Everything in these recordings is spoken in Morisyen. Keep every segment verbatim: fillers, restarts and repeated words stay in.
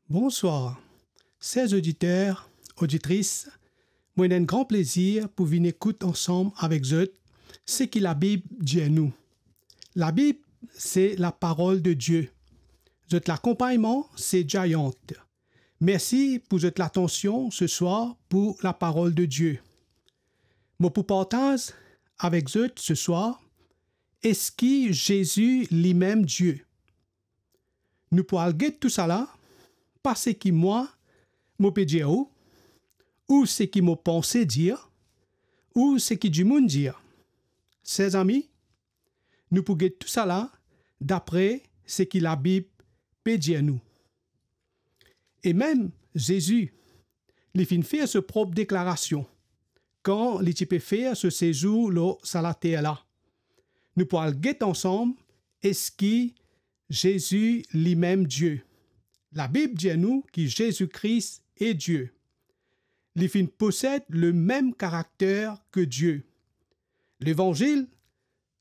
Bonswar, ser oditer, oditris, mo ena enn gran plezir pou vinn ekout ansam avek zot seki Labib dir nou. Labib, se laparol de Die. Zot lakonpagnman, se Giant. Mersi pou zot latansion seswar pou laparol de Die. Mo pou partaz avek zot seswar, eski Zezi limem Die? Nou pou al get tousala, pa seki mwa, mo pe dir ou, ou seki mo panse dir, ou seki dimoun dir. Ser zami, nou pou get tousala dapre seki Labib pe dir nou. E mem Zezi, li finn fer so prop deklarasion kan li ti pe fer so sezour lor sa later la. Nou pou al get ansam eski Zezi limem Die. Labib dir nou ki Zezi Kris e Die. Li finn posed lemem karakter ke Die. Levanzil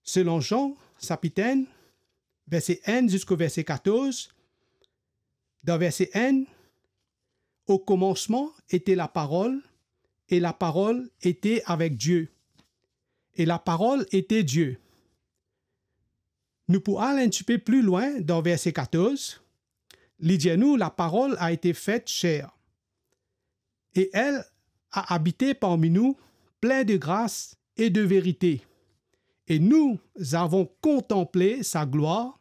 selon Zan, sapit enn, verse enn ziska verse katorz. Dan verse enn, au commencement était la parole, et la parole était avec Dieu, et la parole était Dieu. Nou pou al enn tipe pli lwin dan verse katorz. Li dir nou, la parole a été faite chair, et elle a habité parmi nous, pleine de grâce et de vérité. Et nous avons contemplé sa gloire,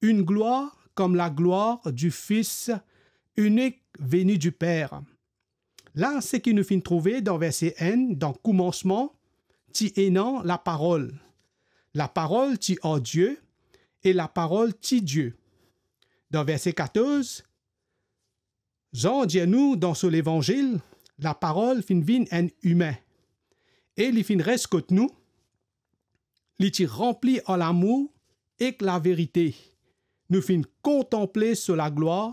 une gloire comme la gloire du Fils unique venu du Père. La, seki nou finn trouve dan verse enn, dan komansman, ti ena Laparol. Laparol ti ar Die, e Laparol ti Die. Dan verse katorz, Zan dir nou dan so Levanzil, Laparol finn vinn enn imin, e li finn res kot nou, li ti ranpli ar lamour ek laverite. Nou finn kontanple so laglwar,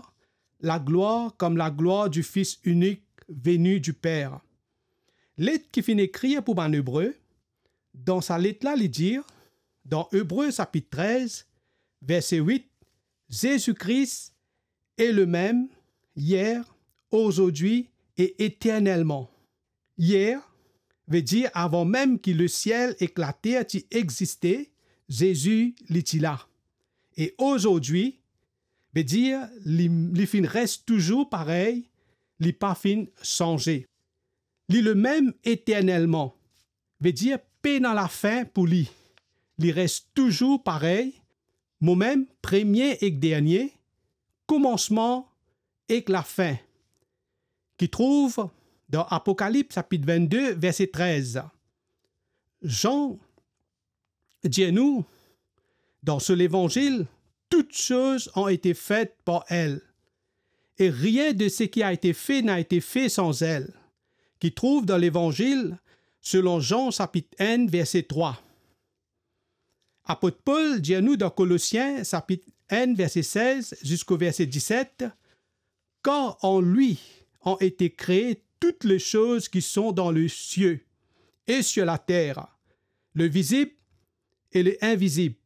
laglwar kom laglwar du Fils unique venu du Père. Let ki finn ekrir pou bann Ebre, dan sa let la li dir, dan Ebre sapit trez, verse wit, Zezi Kris est le même hier, aujourd'hui et éternellement. Hier, ve dir avan mem ki lesiel ek later ti existe, Zezi, li ti la. E aujourd'hui, ve dir li, li finn res touzour parey, li pa finn sanze. Li lemem eternelman, ve dir pena lafin pou li. Li res touzour parey, momem premie ek dernie, komansman ek lafin, ki trouv dan Apokalips sapit vennde, verse trez. Zan dir nou, dan so Levanzil, toutes choses ont été faites par elle, et rien de ce qui a été fait n'a été fait sans elle, ki trouv dan Levanzil selon Zan sapit enn, verse trwa. Apot Pol dir nou dan Kolosien sapit enn, verse sez ziska verse diset, Car en lui ont été créées toutes les choses qui sont dans les cieux et sur la terre, le visible et l'invisible,